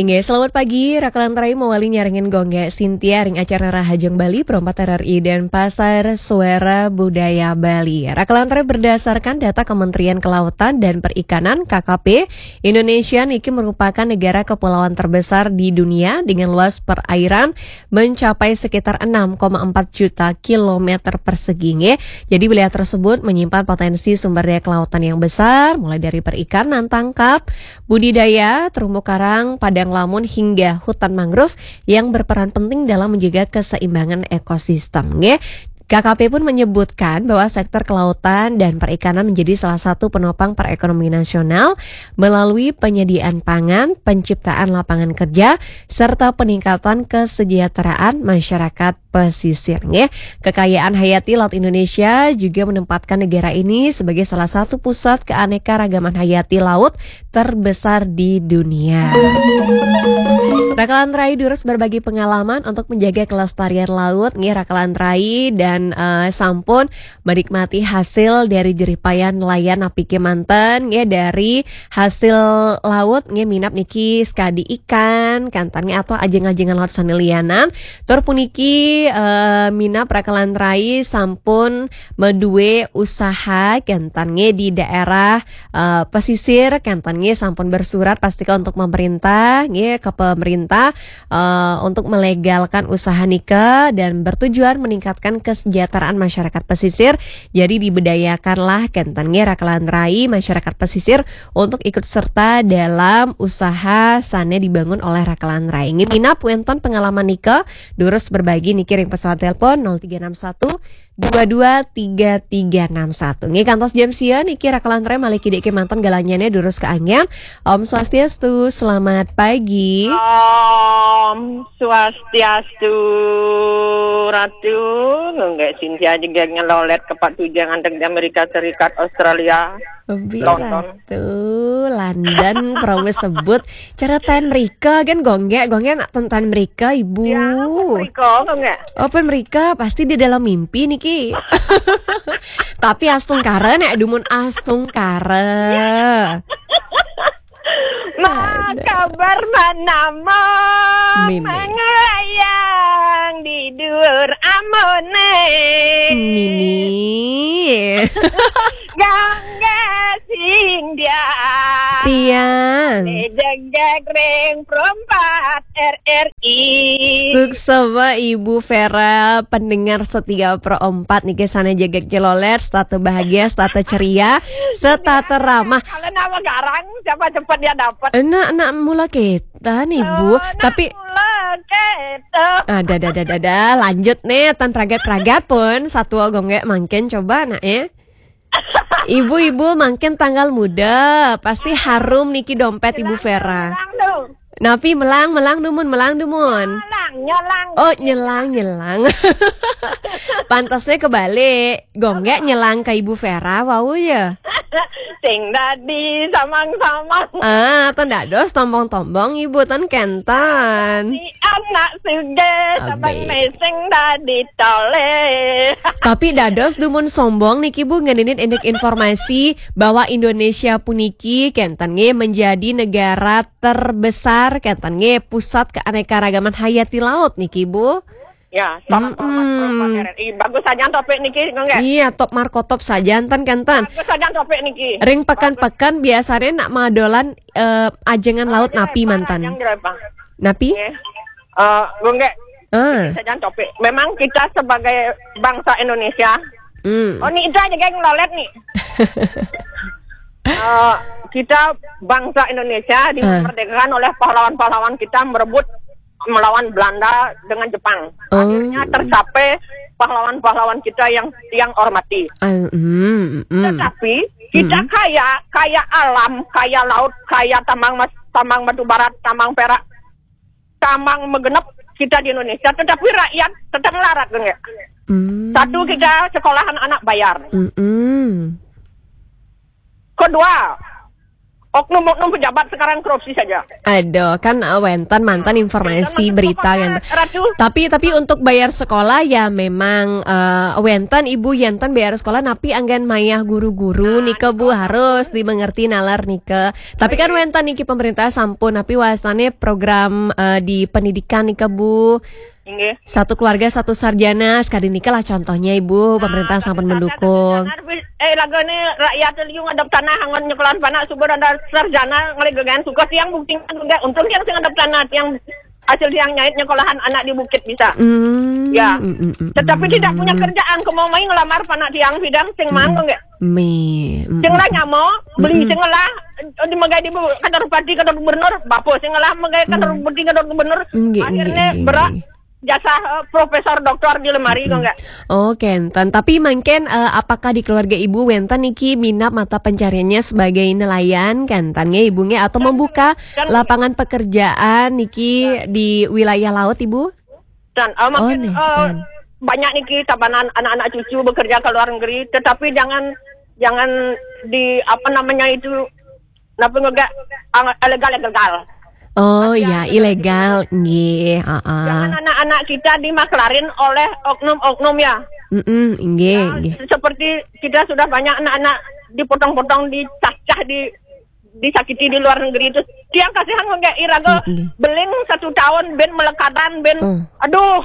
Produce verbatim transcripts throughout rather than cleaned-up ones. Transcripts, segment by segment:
Oke, selamat pagi. Rakalan rai mawali nyarengin Gung Gek Sintia ring acara Rahajeng Bali, Pro empat R R I Denpasar, Suara Budaya Bali. Rakalan rai, berdasarkan data Kementerian Kelautan dan Perikanan, K K P, Indonesia niki merupakan negara kepulauan terbesar di dunia dengan luas perairan mencapai sekitar enam koma empat juta kilometer persegi, nggih. Jadi wilayah tersebut menyimpan potensi sumber daya kelautan yang besar, mulai dari perikanan tangkap, budidaya, terumbu karang, padang lamun, hingga hutan mangrove yang berperan penting dalam menjaga keseimbangan ekosistem, nggih. K K P pun menyebutkan bahwa sektor kelautan dan perikanan menjadi salah satu penopang perekonomian nasional melalui penyediaan pangan, penciptaan lapangan kerja, serta peningkatan kesejahteraan masyarakat pesisir, nggih. Kekayaan hayati laut Indonesia juga menempatkan negara ini sebagai salah satu pusat keanekaragaman hayati laut terbesar di dunia. Rakalan rai durus berbagi pengalaman untuk menjaga kelestarian laut, nggih, Rakalan rai, dan eh, sampun menikmati hasil dari jerih payah nelayan napi kemanten, nggih, dari hasil laut, nggih, minab niki sekadi ikan, kantan, nggih, atau ajeng-ajengan laut sane lianan. Tur puniki eh, minab Rakalan rai sampun madue usaha, kantan, nggih, di daerah eh, pesisir, kantan, nggih, sampun bersurat pastika untuk pemerintah, nggih, ke pemerintah eh, untuk melegalkan usaha nika dan bertujuan meningkatkan kesejahteraan masyarakat pesisir. Jadi diberdayakanlah, kantan, nggih, Rakalan rai, masyarakat pesisir untuk ikut serta dalam usaha sane dibangun oleh Rakalan rai. Nggih, minab wenten pengalaman nika, durus berbagi niki ring pesawat telepon nol tiga enam satu dua dua tiga tiga enam satu. Nggih, kantos jam sia niki Rakalan rai malih kidik kemanten galanyane durus kaanggén. Om Swastiastu, selamat pagi. Om Swastiastu, Ratu. Nggak, Sintia juga ngelolet ke Pak Tujang, antek di Amerika Serikat, Australia, Lebih London. Ratu, London, promo sebut. Cara ten Rika kan, Gung Gek, Gung Gek nak ten, ten Rika, Ibu. Ya, Rika, Gung Gek. Oh, pen mrika, pasti di dalam mimpi niki. Tapi astungkara, nek dumun astungkara. Ma, kabar manama? Mimi. Manglayang di duur amone. Mimi. Gangga sing dia. Tiang. Jegeg ring perempat R R I. Suksma Ibu Vera, pendengar setia Pro empat niki sane jegeg jeloler, setata bahagia, setata ceria, setata ramah. Kalau nama garang, siapa cepat dia dapat. Enak, enak mula kita nih, Bu. Oh, tapi mula kita. Ada, ada, ada, ada, ada. Lanjut nih, tan pragat-pragat pun. Satua Gung Gek mangkin coba, nak, eh. Ibu-ibu mangkin tanggal muda, pasti harum niki dompet Ibu Vera. Melang, melang dong. Napi melang, melang dumun, melang dumun. Nyelang, nyelang. Oh, nyelang, nyelang. Pantasnya kebalik. Gung Gek nyelang ke Ibu Vera, wau ya. Sing dadi samang-samang. Ah, ten dados tombong-tombong Ibu, ten kenten. Si anak suge, sabang meseng dadi tole. Tapi dados dumun sombong niki, Bu, ngeninit indik informasi bahwa Indonesia puniki kenten nggih menjadi negara terbesar, kenten nggih pusat keanekaragaman hayati laut niki, Bu. Ya, salam hormat Bapak R R I. Bagus saja topik niki, Gung Gek. Iya, top markotop saja, enten, kenten. Bagus saja topik niki. Ring pekan-pekan biasanya nak madolan eh, ajengan laut napi mantan? Napi? Eh, Gung Gek. Ah. Saja topik. Memang kita sebagai bangsa Indonesia. Hmm. Oh, ni itu aja, geng, lolet nih. Eh, kita bangsa Indonesia dimerdekakan oleh pahlawan-pahlawan kita merebut melawan Belanda dengan Jepang. Oh. Akhirnya tercapai pahlawan-pahlawan kita yang yang hormati. Ah, mm, mm. Tetapi kita kaya, kaya alam, kaya laut, kaya tambang mas, tambang batu barat, tambang perak, tambang megenep kita di Indonesia, tetapi rakyat tetap melarat, Gung Gek. Mm. Satu, kita sekolahan anak bayar. Mm-mm. Kedua, Oknum-oknum pejabat sekarang korupsi saja. Aduh, kan uh, wénten mantan informasi, berita kan. Ratu. Tapi tapi untuk bayar sekolah ya memang uh, wénten ibu yénten bayar sekolah, napi anggén mayah guru-guru nika Bu, harus dimengerti nalar nika. Tapi kan wénten niki pemerintah sampun, napi wastané program uh, di pendidikan nika Bu. Inggih. Satu keluarga satu sarjana, sekali niki lah contohnya ibu, pemerintah sampun mendukung. Eh, lagane rakyat liu ngadep tanah anggon nyekolahan panak suba ada sarjana ngalih gegayan suka tiang buktinya juga. Untung tiang sing ngadep tanah, tiang hasil tiang nyait nyekolahan anak di bukit bisa. Hmm, ya. Mm, mm, mm, tetapi mm, tidak punya kerjaan, kemau mai ngelamar panak tiang bidang sing mangga nggak? Mi. Sing lah nyamo, beli sing lah di megai di kantor bupati, kantor gubernur, bapa sing lah megai kantor bupati, kantor gubernur. Akhirnya berak jasa uh, profesor doktor di lemari kok enggak? Oh, kenten. Tapi mungkin uh, apakah di keluarga ibu wénten niki minat mata pencariannya sebagai nelayan kenten nggih ibu nggih, atau membuka lapangan pekerjaan niki di wilayah laut ibu? Dan uh, makin uh, banyak niki tabanan anak-anak cucu bekerja ke luar negeri, tetapi jangan jangan di apa namanya itu napa nggak ilegal ilegal. Oh ya, ilegal nggih, heeh. Jangan anak-anak kita dimaklarin oleh oknum-oknum ya. Mm-mm, nggih, ya, nggih. Seperti kita sudah banyak anak-anak dipotong-potong, dicacah, di disakiti di luar negeri itu. Tiang kasihan nggak iraga beling satu tahun ben melekadan ben. Aduh.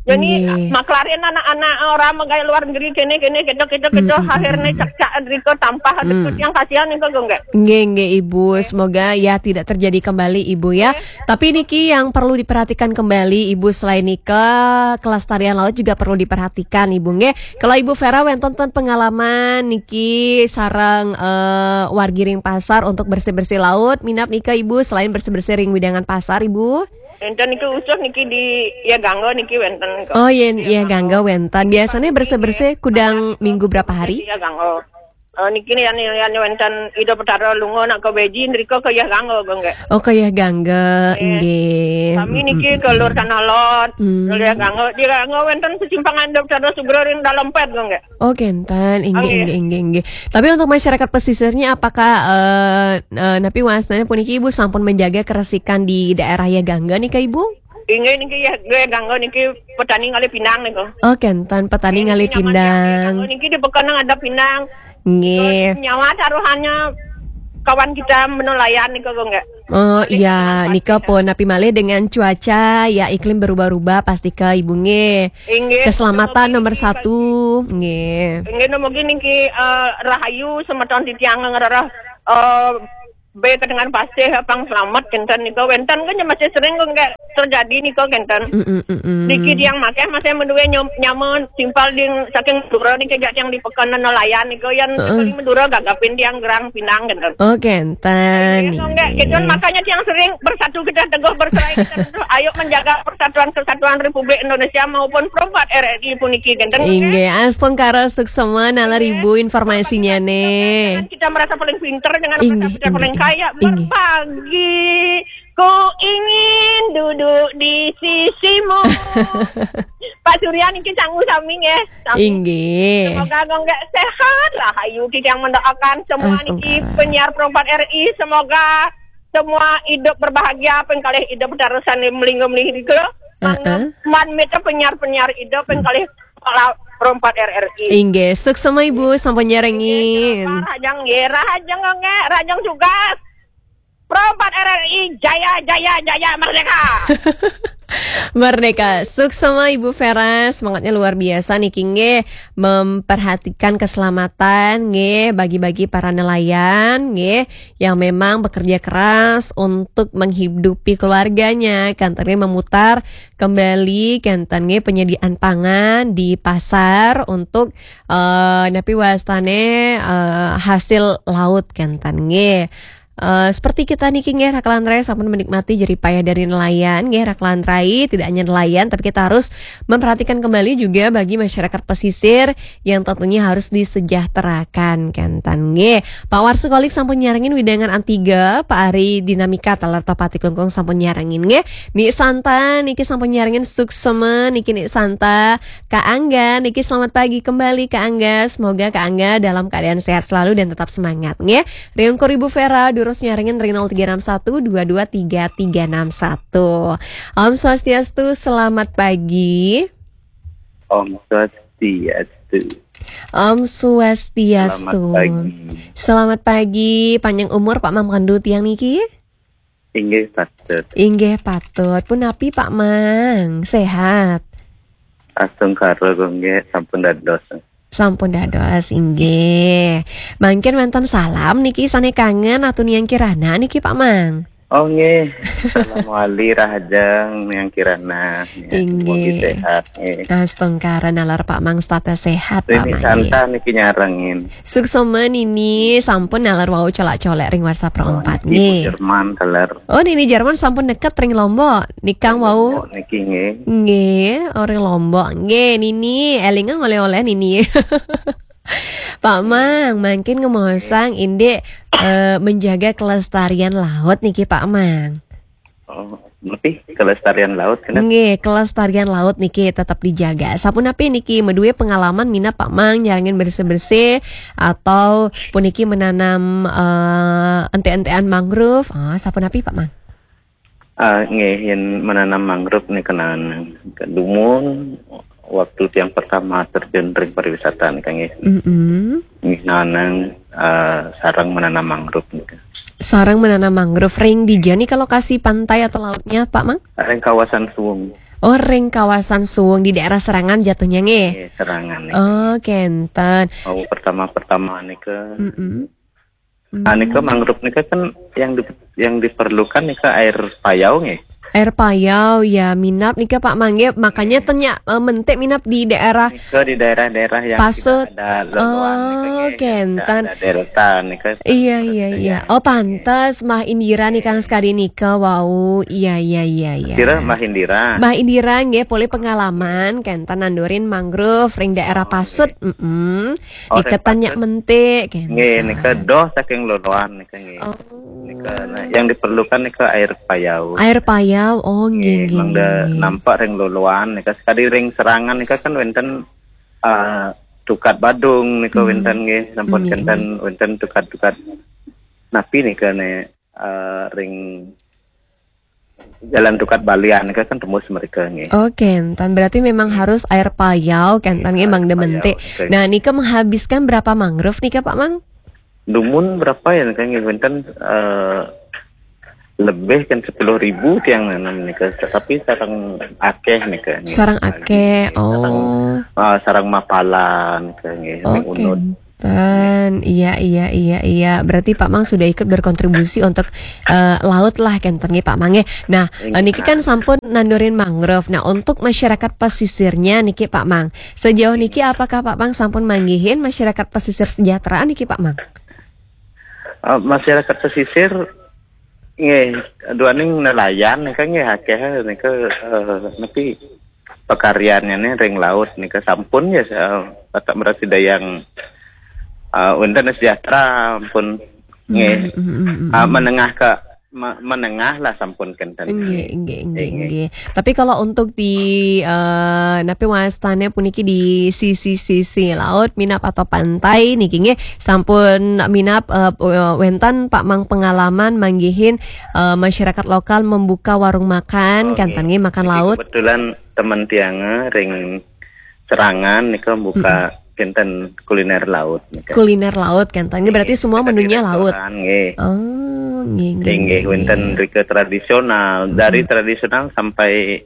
Jadi maklarin anak-anak orang megai luar negeri kene kene kita kita kita akhirnya cak cak riko tampah ada yang kasihan itu enggak. Nggih, nggih, Ibu. Semoga ya tidak terjadi kembali, Ibu, ya. Tapi niki yang perlu diperhatikan kembali, Ibu, selain nika, kelestarian laut juga perlu diperhatikan, Ibu, nggih. Kalau Ibu Vera wénten ten pengalaman niki sareng eh, wargi ring pasar untuk bersih-bersih laut, minat nika, Ibu, selain bersih-bersih ring widangan pasar, Ibu? Wénten niki khusus niki di ya gangga niki wénten kok. Oh, yen ya gangga wénten. Biasanya bersih-bersih kudang minggu berapa hari? Ya gangga. Uh, niki nih yang yang wénten Ida Petara lunga nak ke Beji nriko ke Yah Gangga, nggih. Oh, ke Yah Gangga, nggih. Kami niki ke Lur Tanah Lot, ke Yah Gangga. Di Gangga wénten sesimpangan Ida Petara Sugro ring dalam pet, nggih. Oh, kenten, inggih, inggih, inggih, inggih. Tapi untuk masyarakat pesisirnya, apakah uh, uh, napi wastané puniki Ibu sampun menjaga keresikan di daerah Yah Gangga nih, Kak Ibu? Inggih niki ya, gue ganggu niki petani ngalih pinang niku. Oh, kenten petani ngalih pinang. Niki di pekon ada pinang. Nggih. Nyawa taruhannya kawan kita menelayan niku, nggih. Oh iya, nika pun napi malih dengan cuaca ya iklim berubah-ubah pasti ke ibu nggih. Inggih. Keselamatan nomor satu nggih. Inggih, mungkin niki uh, rahayu semeton titiang ngerereh uh, be kedengan pasih apang selamat kenten nika wénten kan masih sering kok nggak terjadi nika kenten. Mm, mm, mm, mm. Niki tiang masih masih menduwe nyom- nyaman simpal ding saking Madura niki jak tiang di pekan nelayan nika yang sekali Madura gagapin tiang gerang pinang kenten. Oh kenten. Iya, nggak gitu makanya tiang sering bersatu kita teguh bercerai kita teguh ayo menjaga persatuan kesatuan Republik Indonesia maupun perempat R R I puniki kenten. Inggih, astungkara suksema nalar ibu informasinya nih. Kita merasa paling pinter dengan Inggih, kita paling inggih, kaya inggih. Berbagi. Ku ingin duduk di sisimu. Pak Surya niki sangu sami nggih. Sami. Inggih. Semoga nggih sehat lah ayu kita yang mendoakan semua niki Astungkara. Penyiar perempat R I semoga semua hidup berbahagia pengkalih hidup terusan melinggo melih nika. Heeh. Man mita penyiar-penyiar hidup pengkalih kepala perempat R R I. Inggih, suksema ibu sampun nyarengin. Rahajeng nggih, rahajeng nggih, rahajeng juga. Perempat R R I jaya jaya jaya merdeka. Merdeka, suksema Ibu Vera, semangatnya luar biasa niki nggih, memperhatikan keselamatan nggih, bagi-bagi para nelayan nggih yang memang bekerja keras untuk menghidupi keluarganya, kenten nggih memutar kembali kenten nggih penyediaan pangan di pasar untuk eh, napi wastane eh, hasil laut kenten nggih. eh, seperti kita niki nggih, Raklan Rai, sampun menikmati jerih payah dari nelayan nggih, Raklan Rai, tidak hanya nelayan, tapi kita harus memperhatikan kembali juga bagi masyarakat pesisir yang tentunya harus disejahterakan, kenten nggih. Pak Warsu Kolik sampun nyarengin, Widangan Antiga, Pak Ari Dinamika, taler Topati Klungkung sampun nyarengin nggih. Nik Santa niki sampun nyarengin, suksema niki Nik Santa. Kak Angga niki, selamat pagi kembali Kak Angga. Semoga Kak Angga dalam keadaan sehat selalu dan tetap semangat nggih. Riung Koribu Vera durus nyarengin ring nol tiga enam satu dua dua tiga tiga enam satu. Om Swastiastu, selamat pagi. Om Swastiastu. Om Swastiastu. Selamat pagi. Selamat pagi, panjang umur Pak Mang Pandu tiang niki. Inggih patut. Inggih patut. Punapi Pak Mang, sehat? Astungkara nggih, sampun dados. Sampun dados, inggih. Mangkin wenten salam niki sane kangen atau niang Kirana niki Pak Mang? Oh nggih. Salam wali rahajeng niang Kirana. Ya, inggih. Mugi sehat nggih. Astungkara nalar Pak Mang setata sehat Pak Mang nggih. Santa niki nyarengin. Suksema nini, sampun nalar wau colak-colek ring WhatsApp. Oh, ro empat niki nggih. Jerman taler. Oh, nini Jerman sampun neket ring Lombok. Nikang wau. Lombok niki nggih. Nggih, ring Lombok. Nggih, nini elinga oleh-oleh nini. Pak Mang, mangkin ngemosang indik, eh, menjaga kelestarian laut niki Pak Mang. Oh, lebih kelestarian laut kena. Nggih, kelestarian laut niki tetap dijaga. Sapunapi niki, madue pengalaman minab Pak Mang nyarengin bersih-bersih atau puniki menanam, eh, ente-entean mangrove? Ah, sapunapi Pak Mang? Ah, nggih, yen menanam mangrove nika nanang. Dumun waktu tiang pertama terjun ring pariwisata nika nggih. Mm-mm. Nggih, nanang, eh, sarang menanam mangrove nika. Sarang menanam mangrove ring dija nika lokasi pantai atau lautnya, Pak Mang? Ring kawasan Suwung. Oh, ring kawasan Suwung di daerah Serangan jatuhnya nggih? Nggih, Serangan nika. Oh, kenten. Oh, pertama-pertama nika. Mm-mm. Nah, nika mangrove nika kan yang di-, yang diperlukan nika air payau nggih. Air payau ya minab nika Pak Mang nggih, makanya tenyak, eh, mentik minab di daerah. Nika di daerah-daerah yang pasut. Tidak ada loloan nika nggih, oh, kenten. Tidak ada delta nika. Iya, iya, iya. Oh, pantes Mbah Indira nika sekadi nika wau. Iya, iya, iya, iya. Kira Mbah Indira. Mbah Indira nggih, polih pengalaman kenten nandurin mangrove ring daerah pasut. Mm-mm. Oh, nika tenyak mentik kenten. Nggih, nika doh saking loloan nika nggih. Oh. Nika, nah, yang diperlukan nika air payau. Air payau, oh, nggih, nggih, nggih, mangda nggih. Nampak ring loloan nika, sekadi ring Serangan nika kan wenten, eh, tukad Badung nika wenten nggih, sampun kenten wenten tukad-tukad napi nika ne, eh, ring Jalan Tukad Balian nika kan tembus mereka nggih. Oh, kenten. Berarti memang harus air payau, kenten nggih, mangda mentik. Air payau, oke. Nah, nika menghabiskan berapa mangrove nika, Pak Mang? Dumun berapa ya, nika nggih, wenten, eh, lebih kan sepuluh ribu tiang nanam nika, tetapi sarang akeh nika nggih. Sarang akeh, sarang, oh. Ah, sarang mapala nika nggih, oh, ring Unud. Kenten. Iya, iya, iya, iya. Berarti Pak Mang sudah ikut berkontribusi untuk, eh, laut lah, kenten nggih, Pak Mang nggih. Nah, eh, niki kan sampun nandurin mangrove. Nah, untuk masyarakat pesisirnya niki, Pak Mang, sejauh niki apakah Pak Mang sampun manggihin masyarakat pesisir sejahtera niki, Pak Mang? Eh, masyarakat pesisir nggih, duaning nelayan nika nggih akeh nika, eh, napi, pakaryannya nih ring laut nika sampun ya, eh, Batak Merasi Dayang, eh, wenten sejahtera ampun nggih. Mm, mm, mm, mm, ah, mm. Menengah ke, me-, menengah lah sampun kenten. Nggih, nggih, nggih, nggih. Tapi kalau untuk di, eh, napi wastane puniki di sisi-sisi laut, minab atau pantai niki nggih, sampun minab, eh, pu-, eh, wenten Pak Mang pengalaman manggihin, eh, masyarakat lokal membuka warung makan, oh, kenten nggih, makan laut. Niki kebetulan teman tiang, eh, ring Serangan nika buka kenten kuliner laut nika. Kuliner laut kenten. Ini berarti semua menunya laut. Restoran, nggih. Oh, nggih, nggih, nggih, nggih, wenten rika tradisional, dari tradisional sampai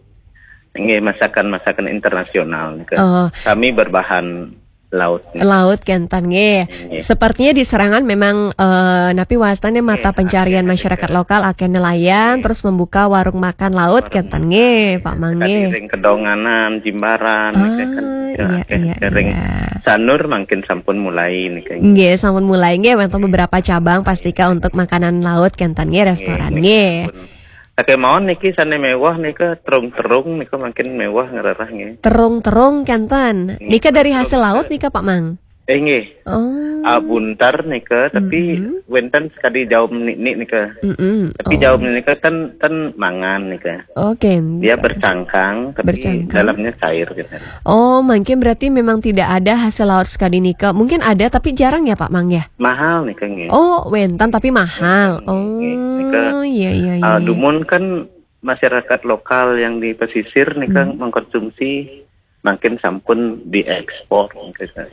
nggih masakan-masakan internasional nika. Oh. Kami berbahan laut. Laut kenten nggih. Nggih. Sepertinya di Serangan memang, eh, napi wastane mata pencarian masyarakat lokal akeh nelayan, terus membuka warung makan laut kenten nggih, Pak Mang nggih. Ring Kedonganan, Jimbaran, niki kan, ah, iya, iya, ring iya. Sanur mungkin sampun mulai niki. Nggih, sampun mulai nggih, wonten beberapa cabang pastika untuk makanan laut kenten nggih, restoran nggih, nggih. Sampun. Sakemono niki sane mewah nika terung-terung nika mungkin mewah ngrereh nggih. Terung-terung kenten. Nggih, nika dari hasil laut nika, Pak Mang? Eh, nggih. Oh. Ah, buntar nika, tapi wenten sekadi jaum nik-nik nika. Mm-mm. Tapi jaum nika ten, ten mangan nika. Oh, kenten. Dia bercangkang, tapi dalamnya cair gitu. Oh, mungkin berarti memang tidak ada hasil laut sekadi nika. Mungkin ada, tapi jarang ya, Pak Mang ya? Mahal nika nggih. Oh, wenten tapi mahal. Wenten, nggih. Oh, nika, iya, iya, iya, ah, iya. Dumun kan masyarakat lokal yang di pesisir nika mengkonsumsi mungkin sampun diekspor mungkin.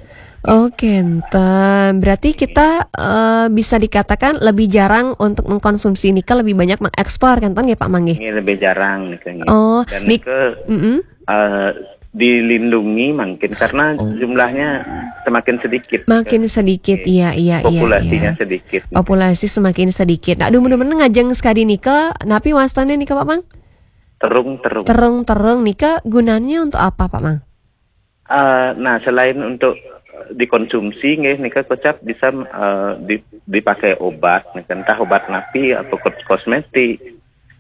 Oh, kenten. Berarti kita, eh, bisa dikatakan lebih jarang untuk mengkonsumsi nika, lebih banyak mengekspor, kenten nggih, Pak Mang nggih? Nggih, lebih jarang nika nggih. Oh, dan nik-, nika, mm-mm, eh, dilindungi mungkin karena jumlahnya semakin sedikit. Makin sedikit, iya, iya, iya, populasinya iya. Sedikit. Populasi semakin sedikit. Nah, dumun-dumun ngajeng sekadi nika, napi wastane nika, Pak Mang? Terung-terung. Terung-terung nika gunanya untuk apa, Pak Mang? Eh, nah, selain untuk dikonsumsi, nggih, nika kocap bisa, eh, di-, dipakai obat, nika entah obat napi atau kos-, kosmetik,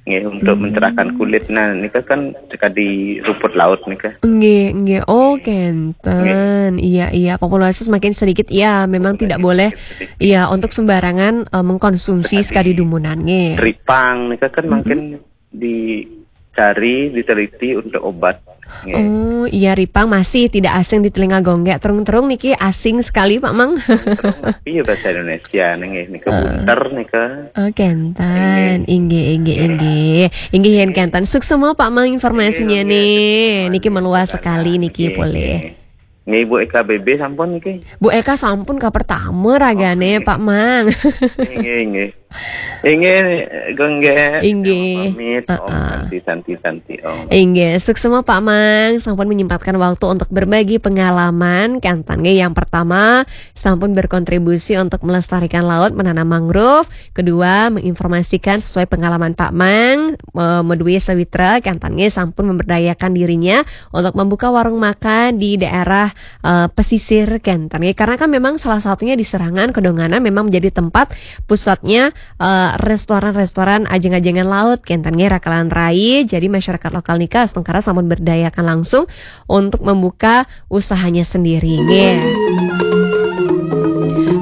nggih, untuk mencerahkan kulit. Nah, nika kan sekadi rumput laut nika. Nggih, nggih. Oh, kenten. Nggih. Iya, iya. Populasi semakin sedikit, iya, memang tidak boleh, sedikit. Iya, untuk sembarangan, eh, mengkonsumsi sekadi dumunan, nggih. Ripang nika kan mungkin dicari, diteliti untuk obat. Nggih. Oh, iya, ripang masih tidak asing di telinga Gonggek. Terung-terung niki asing sekali, Pak Mang. Terung, iya, bahasa Indonesia nggih, nika bunter nika. Oh, kenten. Nggih. Inggih, inggih, inggih. Inggih, yen kenten. Suksma, Pak Mang, informasinya nih. Nggih, nggih. Niki meluas sekali niki, nggih, boleh. Nggih. Nggih, Bu Eka B B sampun niki? Bu Eka sampun ka pertama ragane, Pak Mang. Nggih, nggih. Inggih, Gonggek. Inggih. Pamit, Om Santi, Santi, Santi, Om. Inggih, suksma Pak Mang, sampun menyempatkan waktu untuk berbagi pengalaman, kenten nggih, yang pertama, sampun berkontribusi untuk melestarikan laut, menanam mangrove. Kedua, menginformasikan sesuai pengalaman Pak Mang, eh, madue sawitra, kenten nggih, sampun memberdayakan dirinya untuk membuka warung makan di daerah, eh, pesisir kenten nggih. Karena kan memang salah satunya di Serangan, Kedonganan memang menjadi tempat pusatnya, eh, restoran-restoran ajeng-ajengan laut kenten nggih, rakalan rai. Jadi masyarakat lokal nika astungkara sampun berdayakan langsung untuk membuka usahanya sendiri nggih.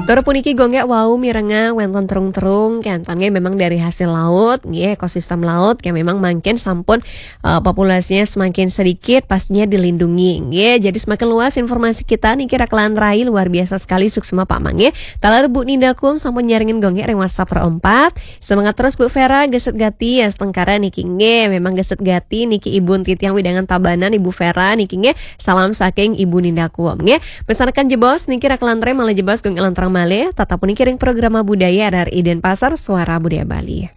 Tur puniki Gonggek wau mirengang wenten terung-terung kenten nggih, memang dari hasil laut nggih, ekosistem laut yang memang mangkin sampun, eh, populasinya semakin sedikit, pastinya dilindungi nggih. Jadi semakin luas informasi kita niki, rakalan rai, luar biasa sekali, suksma Pak Mang nggih. Taler Bu Ninda Kuom sampun nyarengin Gonggek ring WhatsApp ro empat. Semangat terus Bu Vera, geset gati astungkara niki nggih. Memang geset gati niki Ibu titiang wewidangan Tabanan, Ibu Vera niki nggih. Salam saking Ibu Ninda Kuom nggih. Pesan rekan jebos niki, rakalan rai, malih jebos Gonggek lanturang malih. Tetap puniki ring programa budaya R R I Denpasar, Suara Budaya Bali.